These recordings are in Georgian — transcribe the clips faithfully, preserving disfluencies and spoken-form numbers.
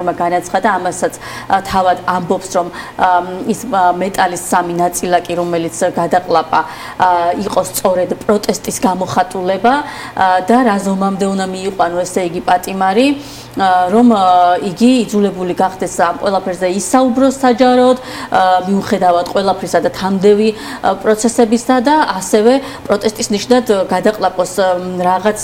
განაცხადა ამასაც თავად ამბობს რომ ის მეტალის სამი ნაწილაკი რომელიც გადაყლაპა იყო სწორედ პროტესტის გამოხატულება და რაზომამდე უნდა მიიყვანო ესე იგი პატიმარი რომ იგი იძულებული გახდეს ამ ყველაფერზე ისაუბროს საჯაროდ მიუხედავად ყველაფრისა და თამდევი პროცესებისა და ასევე პროტესტის ნიშნად გადაყლაპოს რაღაც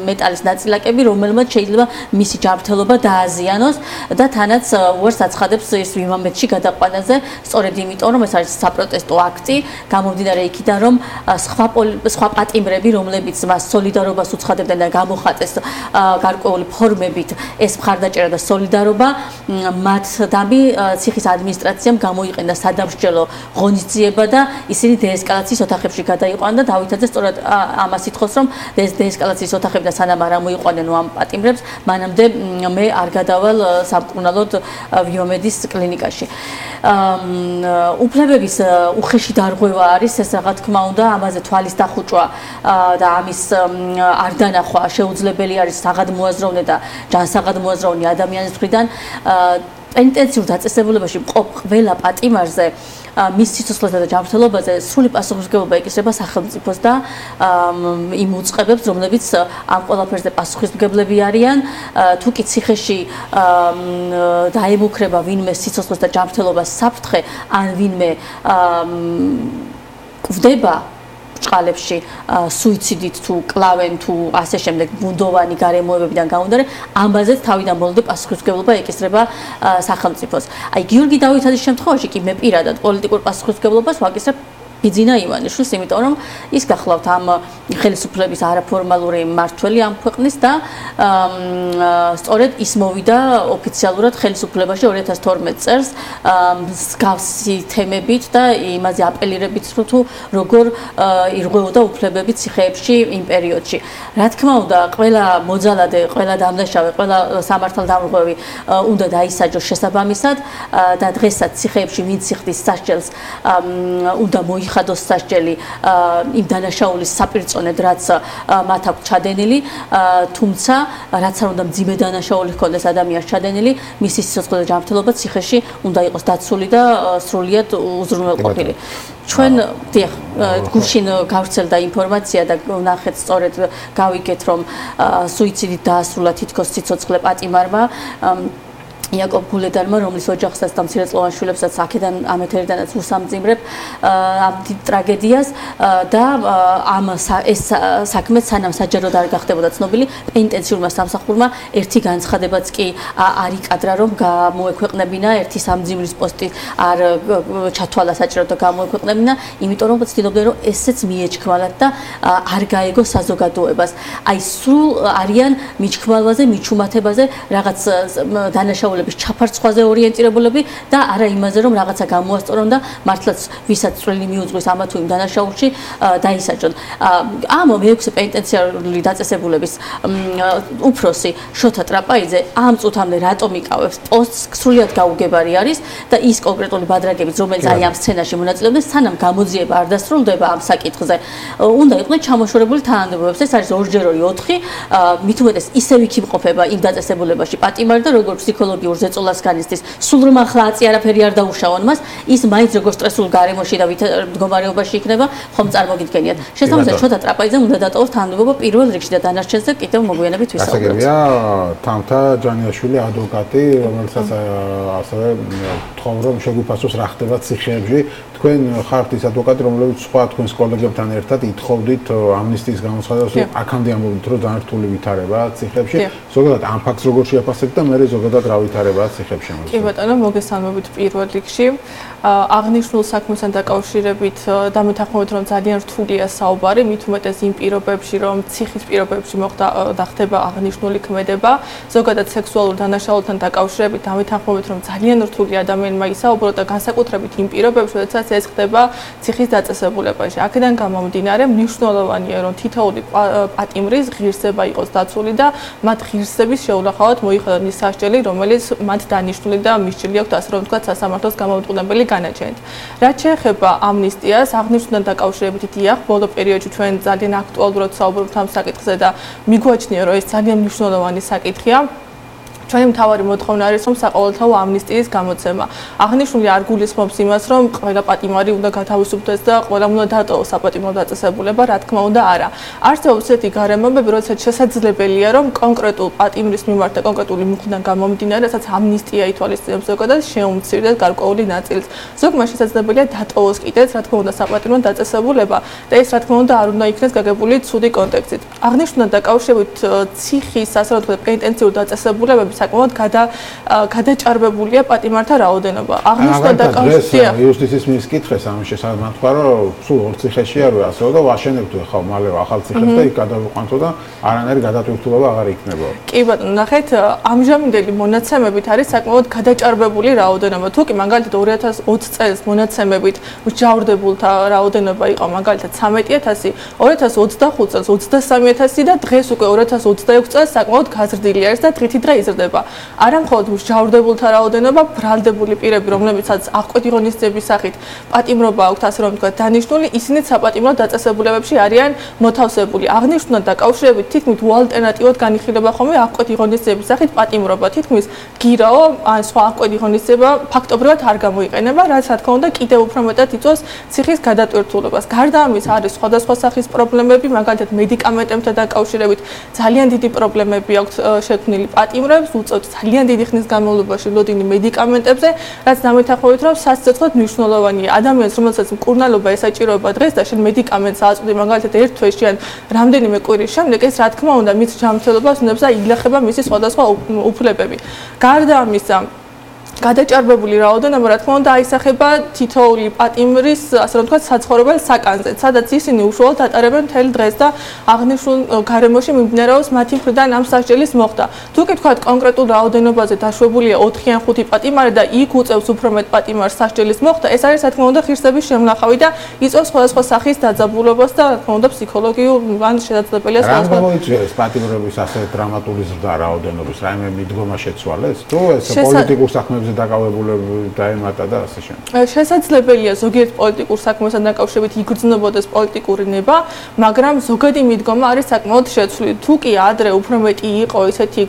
მეტალის ნაწილაკები რომელმაც შეიძლება მისი ჯანმრთელობა დააზიანოს და თანაც უარს აცხადებს ის იმამეთში გადაყვანაზე სწორედ იმიტომ რომ ეს არის საპროტესტო აქტი გამომდინარე იქიდან რომ სხვა სხვა პატიმრები რომლებიც მას სოლიდარობას უცხადებდნენ და გამოხატეს გარკვეული ფორმებით ეს მხარდაჭერა და სოლიდარობა მათ დამი ციხის ადმინისტრაციამ გამოიყენა სადამსჯელო ღონისძიება და ისინი დეესკალაციის ოთახებში გადაიყვანა და დავითაძე სწორედ ამას ითხოვს რომ დეესკალაციის ოთახებიდან სანამ არ ამოიყვანენო ამ პატიმრებს მანამდე მე არ გადავალ სამკურნალოდ ვიომედის კლინიკაში. უფლებების უხეში დარღვევა არის ეს რა თქმა უნდა ამაზე თვალის დახუჭვა და ამის არ დანახვა შეუძლებელი არის საღადმოაზროვნე და ჯანსაღადმოაზროვნე ადამიანის მხრიდან პენტენციურ დაწესებულებაში მყოფ ყველა პატიმარზე მის სიცოცხლესა და ჯანმრთელობაზე სრული პასუხისმგებლობა ეკისრება სახელმწიფოს და იმ უწყებებს, რომლებიც ამ ყველაფერზე პასუხისმგებლები არიან, თუ კი ციხეში დაემუქრება ვინმე სიცოცხლეს და ჯანმრთელობას საფრთხე, ან ვინმე კვდება ჭყალებში სუიციდით თუ კლავენ თუ ასე შემდეგ ბუნდოვანი გარემოებებიდან გამომდინარე ამბაზეც თავიდან ბოლომდე პასუხისმგებლობა ეკისრება სახელმწიფოს. აი გიორგი დავითაძის შემთხვევაში კი მე პირადად პოლიტიკურ პასუხისმგებლობას ვაკისრებ ბიძინა ივანიშვილს, იმიტომ რომ ის გახლავთ ამ ხელისუფლების არაფორმალური მმართველი ამ ქვეყნის და სწორედ ის მოვიდა ოფიციალურად ხელისუფლებაში ორი ათას თორმეტ წელს მსგავსი თემებით და იმაზე აპელირებით თუ როგორ ირღვეოდა უფლებები ციხეებში იმ პერიოდში. რა თქმა უნდა, ყველა მოძალადე, ყველა დამნაშავე, ყველა სამართალდამრღვევი უნდა დაისაჯოს შესაბამისად და დღესაც ციხეებში ვინც იხდის სასჯელს უნდა მოიხადოს სასჯელი იმ დანაშაულის საპირწონედ რაც მათ აქვს ჩადენილი, თუმცა რაც არ უნდა მძიმე დანაშაული ჰქონდეს ადამიანს ჩადენილი, მისი სიცოცხლე და ჯანმრთელობა ციხეში უნდა იყოს დაცული და სრულიად უზრუნველყოფილი. ჩვენ დიახ გუშინ გავრცელდა ინფორმაცია და ვნახეთ სწორედ გავიგეთ რომ სუიციდით დაასრულა თითქოს სიცოცხლე პატიმარმა იაკობ გულედანმა, რომლის ოჯახსაც და მცირეწლოვან შვილებსაც აქედან ამ ეთერიდანაც უსამძიმრებ ამ ტრაგედიას და ამ ეს საქმე სანამ საჯაროდ არ გახდებოდა ცნობილი, პენტენციურმა სამსახურმა ერთი განცხადებაც კი არ იკადრა, რომ გამოექვეყნებინა ერთი სამძიმრის პოსტი არ ჩათვალა საჭირო და გამოექვეყნებინა, იმიტომ რომ ცდილობდნენ რომ ესეც მიეჩქმალათ და არ გაეგო საზოგადოებას. აი სულ არიან მიჩქმალვაზე, მიჩუმათებაზე, რაღაც დანაშაულების ჩაფარცხვაზე ორიენტირებულები და არა იმაზე რომ რაღაცა გამოასწორონ და მართლაც ვისაც წვლილი მიუძღვის ამა თუ იმ დანაშაულში დაისაჯონ. ამ მეექვსე პენტენციარული დაწესებულების უფროსი შოთა ტრაპაიძე ამ წუთამდე რატომ იკავებს პოსტს სრულიად გაუგებარი არის და ის კონკრეტული ბადრაგებიც რომელიც აი ამ სცენაში მონაწილეობდნენ სანამ გამოძიება არ დასრულდება ამ საკითხზე უნდა იყვნენ ჩამოშორებული თანამდებობებს. ეს არის ორჯერ ორი ოთხი მით უმეტეს ისევ იქ იმყოფება იმ დაწესებულებაში პატიმარი და როგორც ფსიქოლოგი ზეწოლას განიცდის სულ რომ ახლა აწი არაფერი არ დაუშავონ მას ის მაინც როგორ სტრესულ გარემოში და მდგომარეობაში იქნება ხომ წარმოგიდგენიათ შესაბამისად შოთა ტრაპაიძემ უნდა დატოვოს თანამდებობა პირველ რიგში და დანარჩენზე კიდევ მოგვიანებით ვისაუბრებთ. ასაგებია თამთა ჯანიაშვილი ადვოკატი რომელსაც ასევე თხოვ რომ შეგვიფასოს რა ხდება ციხეებში. თქვენ ხართ ის ადვოკატი რომლებიც სხვა თქვენს კოლეგებთან ერთად ითხოვდით ამნისტიის გამოცხადებას რომ აქამდე ამბობთ რომ ძალიან რთული ვითარება ციხეებში. ზოგადად ამ ფაქტს როგორ შეაფასებთ და მე ზოგადად რა ვითარებაა ციხეებში? კი ბატონო, მოგესალმებით პირველ რიგში. აღნიშნულ საქმესთან დაკავშირებით დამეთანხმებით რომ ძალიან რთულია საუბარი, მით უმეტეს იმ პირობებში რომ ციხის პირობებში მოხდა და ხდება აღნიშნული ქმედება, ზოგადად სექსუალურ დანაშაულთან დაკავშირებით დამეთანხმებით რომ ძალიან რთული ადამიანმა ისაუბროს და განსაკუთრებით იმ პირობებში, როდესაც ეს ხდება ციხის დაწესებულებაში. აქედან გამომდინარე, მნიშვნელოვანია რომ თითოეული პატიმრის ღირსება იყოს დაცული და მათ ღირსების შეუნახავად მოიხადონ ის სასჯელი, რომელიც მათ დანიშნული და მისჭილი აქვს ასე რომ ვთქვათ სასამართლოს გამომწყდებელი განაჩენით. რაც შეეხება ამნისტიას, აღნიშნულთან დაკავშირებით დიახ, ბოლო პერიოდში ჩვენ ძალიან აქტუალურად საუბრობთ ამ საკითხზე და მიგვაჩნია, რომ ეს ძალიან მნიშვნელოვანი საკითხია. ჩვენი მთავარი მოთხოვნა არის რომ საყოველთაო ამნისტიის გამოცემა. აღნიშნული არ გულისხმობს იმას, რომ ყველა პატიმარი უნდა გათავისუფლდეს და ყველამ უნდა დატოვოს საპატიმრო დაწესებულება, რა თქმა უნდა, არა. არსებობს ესეთი გარემოებები, როდესაც შესაძლებელია, რომ კონკრეტულ პატიმრის მიმართ და კონკრეტული მუხლიდან გამომდინარე, რასაც ამნისტია ითვალისწინებს ზოგადად შეუმცირდეს გარკვეული ნაწილს. ზოგმა შესაძლებელია დატოვოს კიდეც, რა თქმა უნდა, საპატიმრო დაწესებულება და ეს რა თქმა უნდა არ უნდა იქნეს გაგებული ცუდი კონტექსტით. აღნიშნულთან დაკავშირებით ციხის, ასე რომ ვთქვათ, პენიტენციური დაწესებულებები საკმაოდ გადა გადაჭარბებულია პატიმართა რაოდენობა. აღნიშნულთან დაკავშირებით იუსტიციის მინისტრს კითხეს ამ შესახებ თქვა, რომ სულ ორ ციხეში არ ვარ, ასე რომ ვაშენებთ ხა მალე ახალ ციხეს და იქ გადავიყვანთო და არანაირი გადატვირთულობა აღარ იქნებოდა. კი ბატონო, ნახეთ, ამჟამინდელი მონაცემებით არის საკმაოდ გადაჭარბებული რაოდენობა. თუ კი მაგალითად ორი ათას ოცი წელს მონაცემებით მსჯავრდებულთა რაოდენობა იყო მაგალითად ცამეტი ათასი, ორი ათას ოცდახუთ წელს ოცდასამი ათასი და დღეს უკვე ორი ათას ოცდაექვსი წელს საკმაოდ გაზრდილი არის და დღითი დღე იზრდება. არა მხოლოდ მსჯავრდებულთა რაოდენობა, ბრალდებული პირები, რომლებიცაც აღკვეთი ღონისძიების სახით პატიმრობა აქვთ, ასე რომ ვთქვათ, დანიშნული, ისინიც საპატიმრო დაწესებულებებში არიან მოთავსებული. აღნიშნულთან დაკავშირებით თითქმის უალტერნატივად განიხილება ხოლმე აღკვეთი ღონისძიების სახით პატიმრობა. თითქმის გირაო ან სხვა აღკვეთი ღონისძიება ფაქტობრივად არ გამოიყენება, რაც რა თქმა უნდა კიდევ უფრო მეტად იწვევს ციხის გადატვირთულობას. გარდა ამის არის სხვადასხვა სახის პრობლემები, მაგალითად მედიკამენტებთან დაკავშირებით ძალიან დიდი პრობლემები აქვს შექმნილი პატიმრებს, უწევთ ძალიან დიდი ხნის განმავლობაში ლოდინი მედიკამენტებზე, რაც დამეთანხმებით რომ სასიცოცხლოდ მნიშვნელოვანია. ადამიანს, რომელსაც მკურნალობა ესაჭიროება დღეს და შენ მედიკამენტს აწყდი მაგალითად ერთ თვეში ან რამდენიმე კვირის შემდეგ, ეს რა თქმა უნდა მის ჯანმრთელობას უნდებს და ილახება მისი სხვადასხვა უფლებები. გარდა ამისა, გადაჭარბებული რაოდენობა რა თქმა უნდა აისახება თითოეული პატიმრის, ასე რომ ვთქვათ, საცხოვრებელ საკანზე, სადაც ისინი უშუალოდ ატარებენ მთელ დღეს და აღნიშნულ გარემოში მიმდინარეობს მათი მხრიდან ამ სასჯელის მოხდა. თუ კი ვთქვათ, კონკრეტულ რაოდენობაზე დაშვებულია ოთხი ან ხუთი პატიმარი და იქ უწევს უფრო მეტ პატიმარს სასჯელის მოხდა, ეს არის რა თქმა უნდა ღირსების შემნახავი და იწვევს სხვადასხვა სახის დაძაბულობას და რა თქმა უნდა ფსიქოლოგიურ ან შესაძლებელია სხვადასხვა. რა გამოიწვიეს პატიმრების ასე დრამატული ზრდა რაოდენობის, რაიმე მიდგომა შეცვალეს? თუ ეს პოლიტიკურ საქმეებზე დაკავებულები დაემატა და ასე შემდეგ. შესაძლებელია ზოგიერთ პოლიტიკურ საქმესთან დაკავშირებით იგრძნობოდეს პოლიტიკური ნება, მაგრამ ზოგადი მიდგომა არის საკმაოდ შეცვლილი. თუ კი ადრე უფრო მეტი იყო ისეთი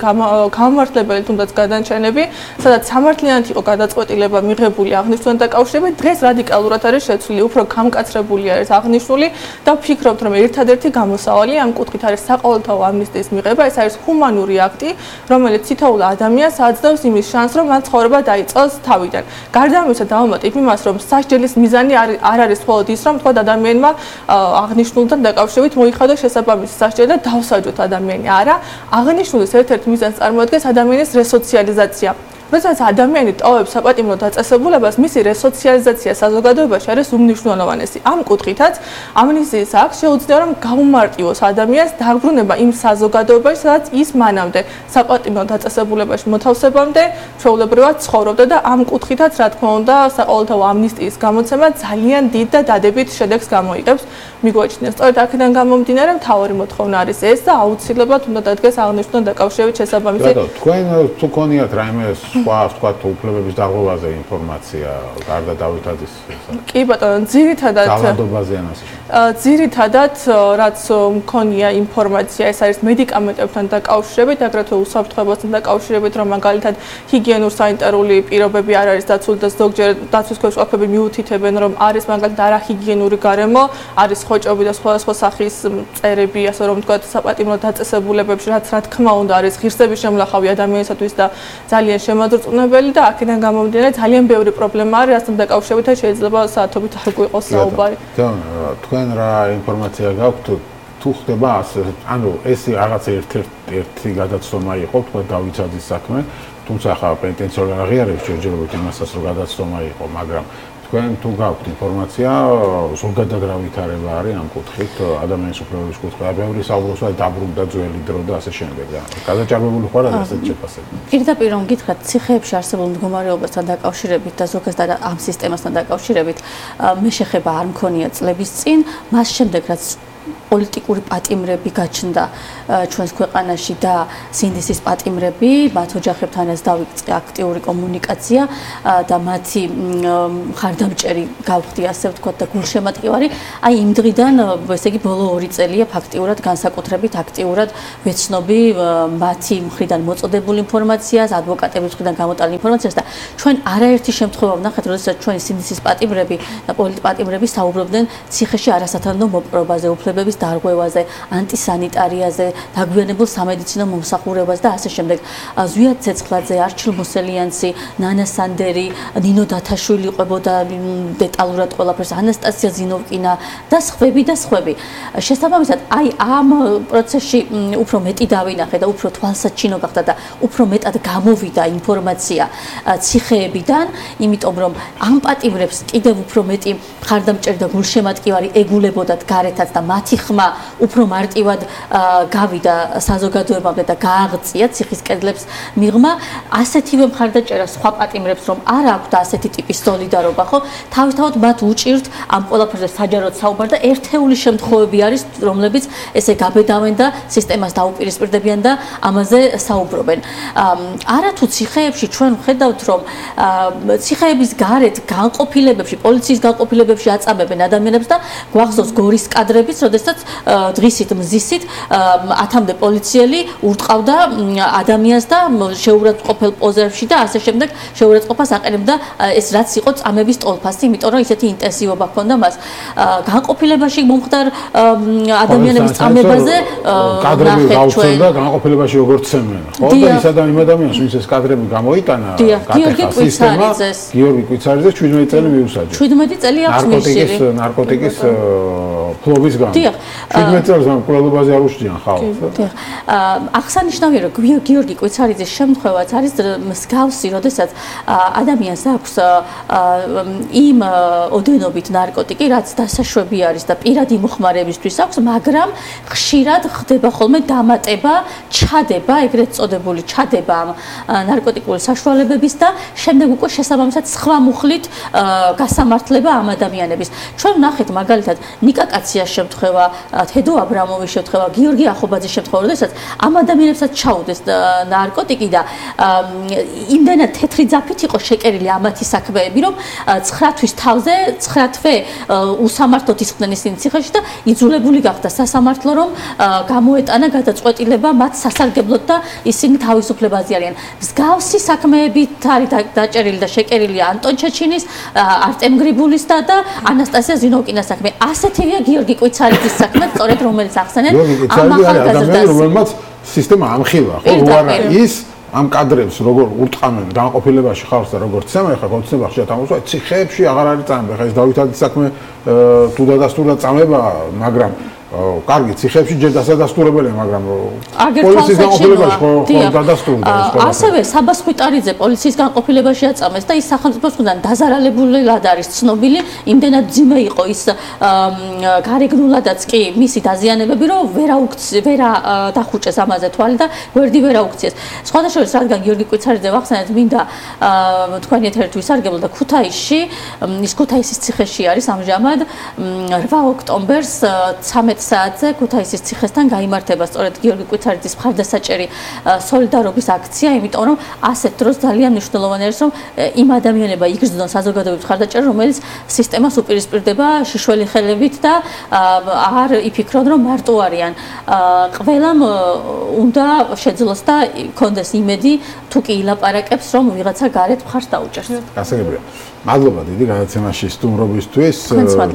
გამმართველებელი თუნდაც გადანჩენები, სადაც სამართლიანად იყო გადაწყვეტილება მიღებული აღნიშნულთან დაკავშირებით, დღეს რადიკალურად არის შეცვლილი, უფრო გამკაცრებული არის აღნიშნული და ვფიქრობთ, რომ ერთადერთი გამოსავალი ამ კუთხით არის საყოველთაო ამნისტიის მიღება, ეს არის ჰუმანური აქტი, რომელიც თითოეულ ადამიანს აძლევს იმის შანსს, რომ მან ცხოვრება დაიწყოს თავიდან. გარდა ამისა დავამატებ იმას, რომ სასჯელის მიზანი არ არის მხოლოდ ის, რომ თქვა ადამიანმა აღნიშნულთან დაკავშირებით მოიხადოს შესაბამისი სასჯელი და დავსაჯოთ ადამიანი. არა, აღნიშნულის ერთ-ერთ მიზანს წარმოადგენს ადამიანის რესოციალიზაცია. როდესაც ადამიანი ტოვებს საპატიმრო დაწესებულებას, მისი რესოციალიზაცია საზოგადოებაში არის უმნიშვნელოვანესი. ამ კუთხითაც ამნისტიის აქტს შეუძლია რომ გაუმარტივოს ადამიანს დაბრუნება იმ საზოგადოებაში, სადაც ის მანამდე საპატიმრო დაწესებულებაში მოთავსებამდე ჩვეულებრივად ცხოვრობდა და ამ კუთხითაც რა თქმა უნდა საყოველთაო ამნისტიის გამოცემა ძალიან დიდ და დადებით შედეგს გამოიღებს. მიგვაჩნია სწორედ აქედან გამომდინარე მთავარი მოთხოვნა არის ეს და აუცილებლად უნდა დადგეს აღნიშნულთან დაკავშირებით შესაბამისი. ბატონო, თქვენ თუ გქონიათ რაიმე სხვა ვთქვათ უფლებების დარღვევაზე ინფორმაცია გარდა დავითაძის? კი ბატონო, ძირითადად ძალადობაზე ან ასე. ძირითადად რაც მქონია ინფორმაცია, ეს არის მედიკამენტებთან დაკავშირებით, აგრეთვე უსაფრთხოებასთან დაკავშირებით, რომ მაგალითად ჰიგიენურ-სანიტარული პირობები არ არის დაცული და ზოგჯერ დაცვის ქვეშ ყოფები მიუთითებენ, რომ არის მაგალითად არაჰიგიენური გარემო, არის ხოჭობი და სხვადასხვა სახის წერები, ასე რომ ვთქვათ, საპატიმრო დაწესებულებებში, რაც რა თქმა უნდა არის ღირსების შემლახავი ადამიანისათვის და ძალიან შემაძრწუნებელი და აქედან გამომდინარე ძალიან ბევრი პრობლემა არის, რასთან დაკავშირებით შეიძლება საათობით არ გვიყოს საუბარი. თქვენ რა ინფორმაცია გაქვთ? თუ ხდება ასე, ანუ ეს რაღაც ერთ-ერთი გადაცდომა იყო, თქვა დავითაძის საქმე, თუმცა ხა პენტენციური აღიარებს ჯერჯერობით იმასაც, რომ გადაცდომა იყო, მაგრამ თქვენ თუ გაქვთ ინფორმაცია, ზოგადად რა ვითარება არის ამ კუთხით, ადამიანის უფლებების კუთხით, ბევრი საუბრობს, აი დაბრუნდა ძველი დრო და ასე შემდეგ. გადაჭარბებული ხარ და ასეთ შეფასებით. პირდაპირ რომ გითხრათ, ციხეებში არსებულ მდგომარეობასთან დაკავშირებით და ზოგადად ამ სისტემასთან დაკავშირებით, მე შეხება არ მქონია წლების წინ, მას შემდეგ რაც პოლიტიკური პატიმრები გაჩნდა ჩვენს ქვეყანაში და სინდისის პატიმრები, მათ ოჯახებთანაც დავიწყე აქტიური კომუნიკაცია და მათი ხარდამჭერი გავხდი, ასე ვთქვათ, და გულშემატკივარი. აი იმ დღიდან, ესე იგი, ბოლო ორი წელია ფაქტიურად განსაკუთრებით აქტიურად ვეცნობი მათი მხრიდან მოწოდებული ინფორმაციას, ადვოკატების მხრიდან გამოტანილ ინფორმაციას და ჩვენ არაერთი შემთხვევა ვნახეთ, როდესაც ჩვენი სინდისის პატიმრები და პოლიტპატიმრები საუბრობდნენ ციხეში არასათანადო მოპყრობაზე, უფლებების დარღვევაზე, ანტისანიტარიაზე, დაგვიანებულ სამედიცინო მომსახურებას და ასე შემდეგ. ზვიად ცეცხლაძე, არჩილ მოსელიანცი, ნანა სანდერი, ნინო დათაშვილი ყვებოდა დეტალურად ყველაფერს, ანასტასია ზინოვკინა და სხვები და სხვები. შესაბამისად, აი ამ პროცესში უფრო მეტი დავინახე და უფრო თვალსაჩინო გახდა და უფრო მეტად გამოვიდა ინფორმაცია ციხეებიდან, იმიტომ რომ ამ პატიმრებს კიდევ უფრო მეტი ხარდამჭერი და გულშემატკივარი ეგულებოდათ გარეთაც და მათი ხმა უფრო მარტივად გავიდა საზოგადოებამდე და გააღწია ციხის კედლებს მიღმა. ასეთივე მხარდაჭერა სხვა პატიმრებს რომ არ აქვთ ასეთი ტიპის სოლიდარობა, ხო? თავისთავად მათ უჭირთ ამ ყველაფერზე საჯაროდ საუბარ და ერთეული შემთხვევები არის, რომლებიც ესე გაბედავენ და სისტემას დაუპირისპირდებიან და ამაზე საუბრობენ. არათუ ციხეებში ჩვენ ვხედავთ, რომ ციხეების გარეთ განყოფილებებში, პოლიციის განყოფილებებში აწამებენ ადამიანებს და გვახსოვს გორის კადრებიც, როდესაც დღისით მზისით ათამდე პოლიციელი ურტყავდა ადამიანს და შეურაცხყოფელ პოზებში და ასე შემდეგ შეურაცხყოფას აყენებდა ეს რაც იყო წამების ტოლფასი, იმიტომ რომ ისეთი ინტენსივობა ჰქონდა მას. განყოფილებაში მომხდარ ადამიანების წამებაზე კადრები გავხსენდა განყოფილებაში როგორც ცემენ, ხო? და ის ადამიანს, ვინც ეს კადრები გამოიტანა, გიორგი კვიცარიძეს, გიორგი კვიცარიძეს შვიდმეტი წელი მიუსაჯეს. შვიდმეტი წელი აქვს მისული. ნარკოტიკის ფლობის გამო. შვიდმეტი წელს ამ კვლევაზე არ უშდიან ხალხს. დიახ. აღსანიშნავია, რომ გიორგი კვიცარიძის შემთხვევაც არის მსგავსი, როდესაც ადამიანს აქვს იმ ოდენობით ნარკოტიკი, რაც დასაშვები არის და პირადი მოხმარებისთვის აქვს, მაგრამ ხშირად ხდება ხოლმე დამატება, ჩადება, ეგრეთ წოდებული ჩადება ამ ნარკოტიკული საშუალებების და შემდეგ უკვე შესაბამისად სხვა მუხლით გასამართლება ამ ადამიანების. ჩვენ ვნახეთ მაგალითად ნიკა კაციას შემთხვევა, თედო აბრამოვის შემთხვევა, გიორგი ახობაძის შემთხვევა, როდესაც ამ ადამიანებსაც ჩაუდეს ნარკოტიკი და იმდენად თეთრი ძაფით იყო შეკერილი ამათი საქმეები, რომ ცხრა თვის თავზე ცხრა თვე უსამართლოდ ისხდნენ ისინი ციხეში და იძულებული გახდა სასამართლო, რომ გამოეტანა გადაწყვეტილება მათ სასარგებლოდ და ისინი თავისუფლებაზე არიან. მსგავსი საქმეებით არის დაჭერილი და შეკერილი ანტონ ჩეჩინის, არტემ გრიბულის და ანასტასია ზინოვკინას საქმე. ასეთივეა გიორგი კვიცარიძის საქმე, სწორედ რომელიც ახსენეთ ამ ახალგაზრდას, რომელმაც სისტემა ამხილა, ხო, უარა ის ამ კადრებს როგორ ურტყამენ განყოფილებაში ხალხს და როგორ ცემენ, ხა კონცეფცია ხშირად ამოსვა ციხეებში აღარ არის წამება, ხა ეს დავითადის საქმე თუ დადასტურდა წამება, მაგრამ კარგი ციხეებში ჯერ დასადასტურებელია, მაგრამ პოლიციის განყოფილებაში ხო დადასტურდა ეს ყველაფერი. ასევე საბას ხვიტარიძე პოლიციის განყოფილებაში აწამეს და ის სახელმწიფოს მხრიდან დაზარალებულად არის ცნობილი, იმდენად ძიმე იყო ის გარეგნულადაც კი მისი დაზიანებები, რომ ვერა ვერა დახუჭეს ამაზე თვალი და გვერდი ვერა უქციეს. სხვადასხვა რადგან გიორგი კვიცარიძე ვახსენეთ, მინდა თქვენი ეთერით ვისარგებლო და ქუთაისში, ის ქუთაისის ციხეში არის ამჟამად რვა ოქტომბერს ცამეტ საათზე ქუთაისის ციხესთან გაიმართება სწორედ გიორგი კვიცარიძის მხარდასაჭერი სოლიდარობის აქცია, იმიტომ რომ ასეთ დროს ძალიან მნიშვნელოვანი არის, რომ იმ ადამიანებმა იგრძნონ საზოგადოების მხარდაჭერა, რომელიც სისტემას უპირისპირდება შიშველი ხელებით და არ იფიქრონ, რომ მარტო არიან. ყველამ უნდა შეძლოს და კონდეს იმედი, თუ კი ილაპარაკებს, რომ ვიღაცა გარეთ მხარს დაუჭერს. გასაგებია. მადლობა დიდი გადაცემაში სტუმრობისთვის.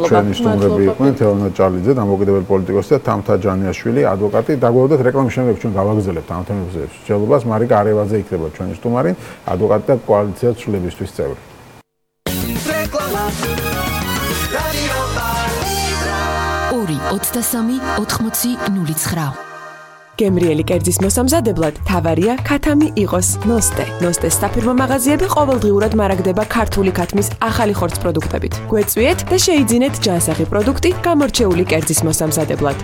ჩვენი სტუმრები იყვნენ თეონა ჭალიძე, დამოუკიდებელი პოლიტიკოსი და თამთა ჯანიაშვილი, ადვოკატი. დაგვაუდეთ რეკლამის შემდეგ ჩვენ გავაგრძელებთ ამ თემებზე მსჯელობას. მარიკა არევაძე იქნება ჩვენი სტუმარი, ადვოკატი და კოალიცია ცვლილებისთვის წევრი. ორი ოცდასამი ოთხმოცი ნული ცხრა გემრიელი კერძის მოსამზადებლად თავარია ქათამი იყოს ნოსტე. ნოსტეს საფირმო მაღაზიები ყოველდღიურად მარაგდება ქართული ქათმის ახალი ხორცს პროდუქტებით. გვეწვიეთ და შეიძინეთ ჯანსაღი პროდუქტი გამორჩეული კერძის მოსამზადებლად.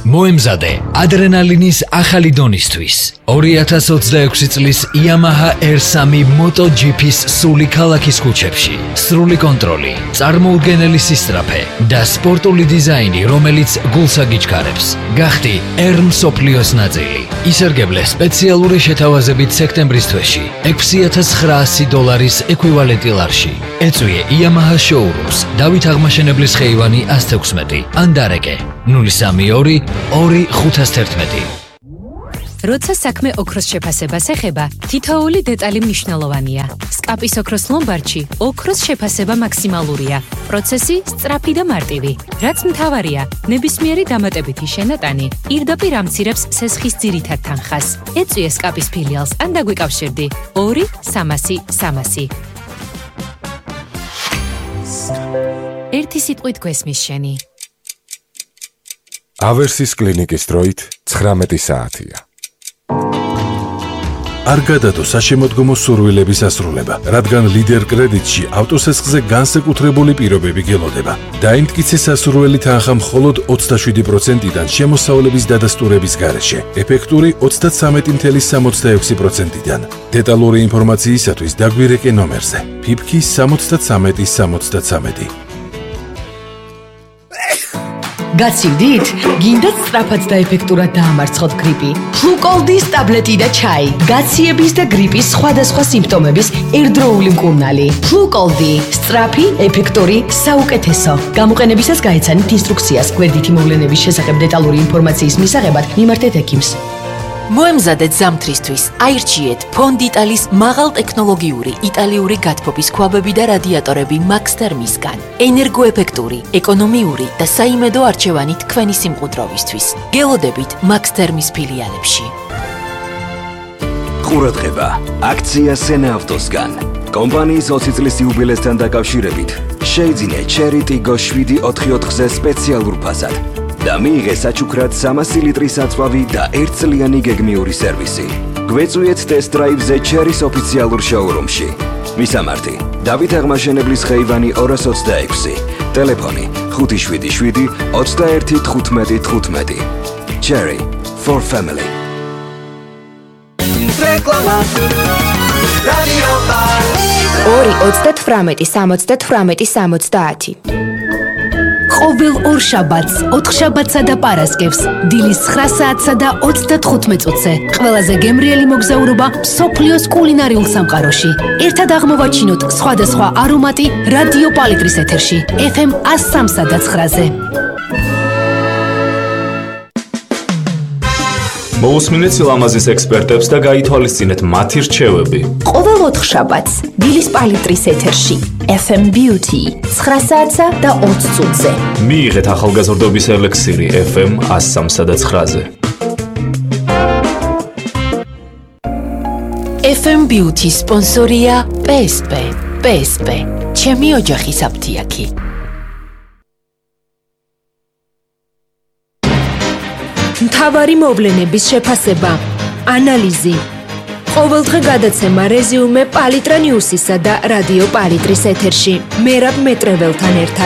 მოემზადე ადრენალინის ახალი დონისთვის. ორი ათას ოცდაექვსი წლის Yamaha R three MotoGP-ს სული ქალაქის ქუჩებში. სრული კონტროლი, წარმოუდგენელი სისწრაფე და სპორტული დიზაინი, რომელიც გულს აგიჩქარებს. გახდი R მსოფლიოს ნაწილი. ისარგებლე სპეციალური შეთავაზებით სექტემბრის თვეში ექვსი ათას ცხრაასი დოლარის ეკვივალენტი ლარში. ეწვიე Yamaha showrooms დავით აღმაშენებლის ხეივანი ას თექვსმეტი ან დარეკე ნული სამი ორი ორი ხუთას თერთმეტი. როცა საქმე ოქროს შეფასებას ეხება, თითოეული დეტალი მნიშვნელოვანია. სკაპის ოქროს ლომბარდში ოქროს შეფასება მაქსიმალურია. პროცესი სწრაფი და მარტივი. რაც მთავარია, ნებისმიერი დამატებითი შენატანი პირდაპირ ამცირებს სესხის ძირითად თანხას. ეწვიე სკაპის ფილიალს ან დაგვიკავშირდი ორი სამასი სამასი. ერთი სიტყვით გვესმის შენი. ავერსის კლინიკის დროით ცხრამეტი საათია. არ გადადო საშემოდგომო სურვილების ასრულება, რადგან ლიდერ კრედიტში ავტოსესხზე განსაკუთრებული პირობები გელოდება. დაიმტკიცე სასურველი თანხა მხოლოდ ოცდაშვიდი პროცენტიდან შემოსავლების დადასტურების გარეშე, ეფექტური ოცდათვრამეტი წუთი სამოცდაექვსი პროცენტიდან. დეტალური ინფორმაციისათვის დაგვირეკე ნომერზე ფიფკი სამოცდათვრამეტი სამოცდათვრამეტი. გაცივდით? გინდათ სწრაფად და ეფექტურად დაამარცხოთ გრიპი? ფლუკოლდის ტაბლეტი და ჩაი. გაციების და გრიპის სხვადასხვა სიმპტომების ერთდროული მკურნალი. ფლუკოლდი. სწრაფი, ეფექტური, საუკეთესო. გამოყენებისას გაეცანით ინსტრუქციას. გვერდითი მოვლენების შესახებ დეტალური ინფორმაციის მისაღებად მიმართეთ ექიმს. მოემზადეთ ზამთრისთვის. აირჩიეთ ფონდიტალის მაღალტექნოლოგიური იტალიური გათბობის ქვაბები და რადიატორები მაქსთერმისგან. ენერგოეფექტური, ეკონომიური და საიმედო არჩევანი თქვენი სიმყუდროვისთვის. გელოდებით მაქსთერმის ფილიალებში. ყურადღება, აქცია სენაავტოსგან. კომპანიის ოცი წლის იუბილესთან დაკავშირებით შეიძინე Cherry Tiggo შვიდი ოთხი ოთხზე სპეციალურ ფასად. და მიიღე საჩუქრად სამასი ლიტრის აწვავი და ერთწლიანი გეგმიური სერვისი. გვეწვიეთ ტესტ დრაივზე Cherry-ს ოფიციალურ შოურუმში. მისამართი: დავით აღმაშენებლის ხეივანი ორას ოცდაექვსი. ტელეფონი ხუთი შვიდი შვიდი ოცდაერთი თხუთმეტი თხუთმეტი. Cherry for family. ორი ოცდათვრამეტი სამოცდათვრამეტი სამოცდაათი. ყოველ ორ შაბათს, ოთხშაბათსა და პარასკევს, დილის ცხრა საათსა და ოცდათხუთმეტ წუთზე, ყველაზე გემრიელი მოგზაურობა მსოფლიოს კულინარიულ სამყაროში. ერთად აღმოვაჩინოთ სხვადასხვა არომატი რადიო პალიტრის ეთერში, ეფ ემ ას სამსა და ცხრაზე. მოусმინეთ სილამაზის ექსპერტებს და გაითვალისწინეთ მათი რჩევები. ყოველ ოთხშაბათს, დილის პალიტრის ეთერში, ეფ ემ Beauty, ცხრა საათსა და ოცდაათი წუთზე. მიიღეთ ახალგაზრდობის ელექსირი ეფ ემ ას სამსა და ცხრაზე. ეფ ემ Beauty სპონსორია პე ეს პე. პე ეს პე, ჩემი ოჯახის აფთიაქი. მთავარი მოვლენების შეფასება, ანალიზი. ყოველდღე გადაცემა რეზიუმე პალიტრა ნიუსისა და რადიო პალიტრის ეთერში. მერაბ მეტრეველთან ერთად.